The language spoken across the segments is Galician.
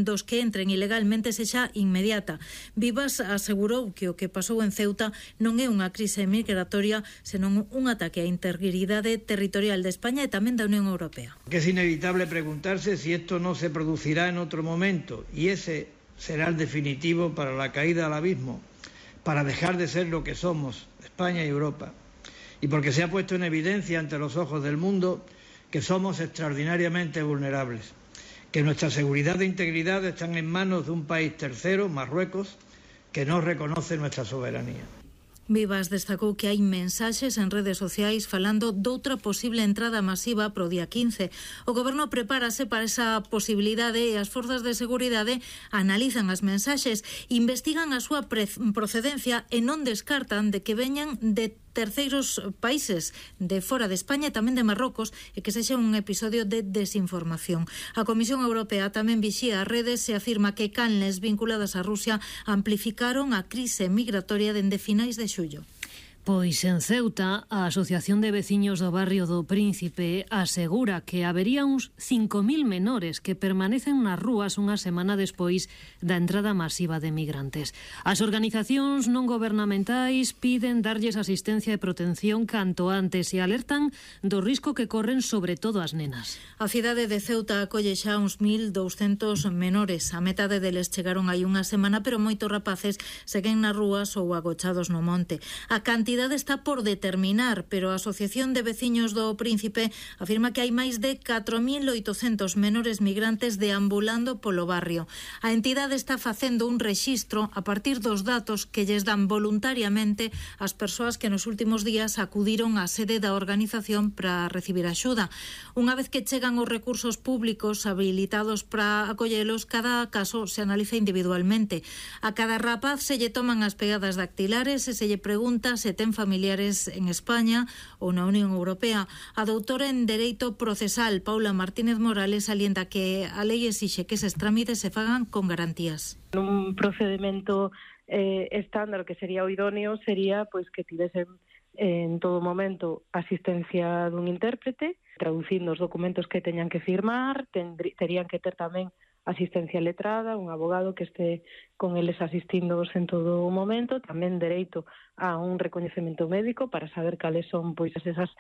dos que entren ilegalmente sexa inmediata. Vivas asegurou que o que pasou en Ceuta non é unha crise migratoria, senón un ataque á integridade territorial de España e tamén da Unión Europea. Que es inevitable preguntarse si esto no se producirá en otro momento, y ese será el definitivo para la caída al abismo, para dejar de ser lo que somos, España y Europa, y porque se ha puesto en evidencia ante los ojos del mundo que somos extraordinariamente vulnerables, que nuestra seguridad e integridad están en manos de un país tercero, Marruecos, que no reconoce nuestra soberanía. Vivas destacou que hai mensaxes en redes sociais falando doutra posible entrada masiva pro día 15. O Goberno prepárase para esa posibilidade e as forzas de seguridade analizan as mensaxes, investigan a súa procedencia e non descartan de que veñan de terceiros países de fora de España e tamén de Marrocos e que sexa un episodio de desinformación. A Comisión Europea tamén vixía as redes e afirma que canles vinculadas a Rusia amplificaron a crise migratoria dende finais de xullo. Pois en Ceuta, a Asociación de Veciños do Barrio do Príncipe asegura que habería uns 5.000 menores que permanecen nas rúas unha semana despois da entrada masiva de migrantes. As organizacións non gobernamentais piden darlles asistencia e protección canto antes e alertan do risco que corren sobre todo as nenas. A cidade de Ceuta acolle xa uns 1.200 menores. A metade deles chegaron hai unha semana, pero moitos rapaces seguen nas rúas ou agochados no monte. A cantidade está por determinar, pero a Asociación de Veciños do Príncipe afirma que hai máis de 4.800 menores migrantes deambulando polo barrio. A entidade está facendo un rexistro a partir dos datos que lles dan voluntariamente as persoas que nos últimos días acudiron á sede da organización para recibir axuda. Unha vez que chegan os recursos públicos habilitados para acollelos, cada caso se analiza individualmente. A cada rapaz se lle toman as pegadas dactilares e se lle pregunta se ten familiares en España ou na Unión Europea. A doutora en Dereito Procesal, Paula Martínez Morales, alienta que a lei exixe que eses trámites se fagan con garantías. Un procedimento estándar que sería o idóneo sería pois que tivesen en todo momento asistencia dun intérprete, traducindo os documentos que teñan que firmar, terían que ter tamén asistencia letrada, un abogado que este con eles asistindos en todo o momento, tamén dereito a un recoñecemento médico para saber cales son pois esas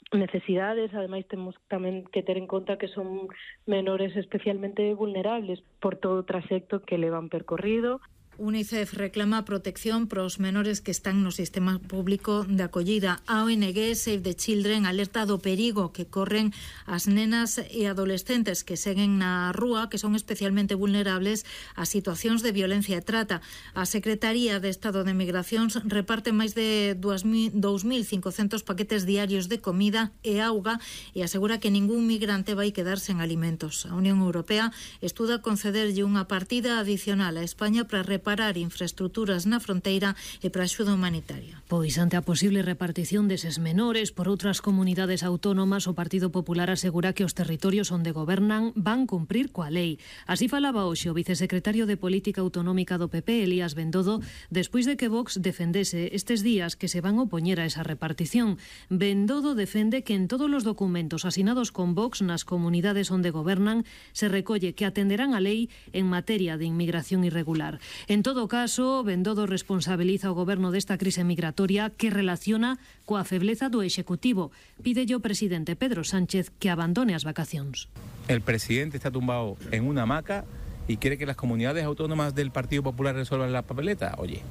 necesidades. Ademais temos tamén que ter en conta que son menores especialmente vulnerables por todo o traxecto que levan percorrido. UNICEF reclama protección para os menores que están no sistema público de acollida. A ONG Save the Children alerta do perigo que corren as nenas e adolescentes que seguen na rúa, que son especialmente vulnerables a situacións de violencia e trata. A Secretaría de Estado de Migracións reparte máis de 2.500 paquetes diarios de comida e auga e asegura que ningún migrante vai quedar sen alimentos. A Unión Europea estuda concederlle unha partida adicional a España para reparar infraestructuras na fronteira e para axuda humanitaria. Pois ante a posible repartición deses menores por outras comunidades autónomas, o Partido Popular asegura que os territorios onde gobernan van cumprir coa lei. Así falaba hoxe o vicesecretario de Política Autonómica do PP, Elías Bendodo, despois de que Vox defendese estes días que se van opoñer a esa repartición. Bendodo defende que en todos os documentos asinados con Vox nas comunidades onde gobernan se recolle que atenderán a lei en materia de inmigración irregular. En todo caso, Bendodo responsabiliza o goberno desta crise migratoria que relaciona coa febleza do Executivo. Pídelle ao presidente Pedro Sánchez que abandone as vacacións. El presidente está tumbado en una hamaca y quiere que las comunidades autónomas del Partido Popular resuelvan la papeleta. Oye,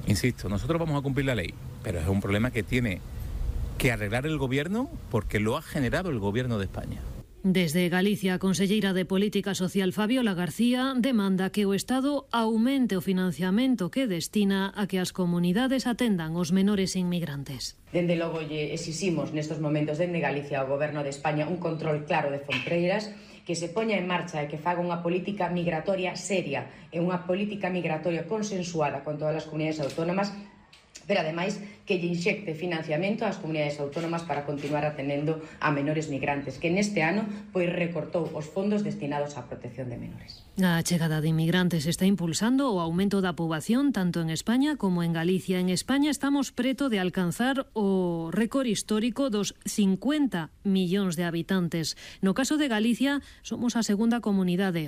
insisto, nosotros vamos a cumplir la ley, pero es un problema que tiene que arreglar el gobierno porque lo ha generado el gobierno de España. Desde Galicia, a conselleira de Política Social Fabiola García demanda que o Estado aumente o financiamento que destina a que as comunidades atendan os menores inmigrantes. Dende logo lle exiximos nestes momentos dende Galicia ao Goberno de España un control claro de fronteiras, que se poña en marcha e que faga unha política migratoria seria e unha política migratoria consensuada con todas as comunidades autónomas, pero ademais que lle inxecte financiamento ás comunidades autónomas para continuar atendendo a menores migrantes, que neste ano pois recortou os fondos destinados á protección de menores. A chegada de inmigrantes está impulsando o aumento da poboación tanto en España como en Galicia. En España estamos preto de alcanzar o récord histórico dos 50 millóns de habitantes. No caso de Galicia, somos a segunda comunidade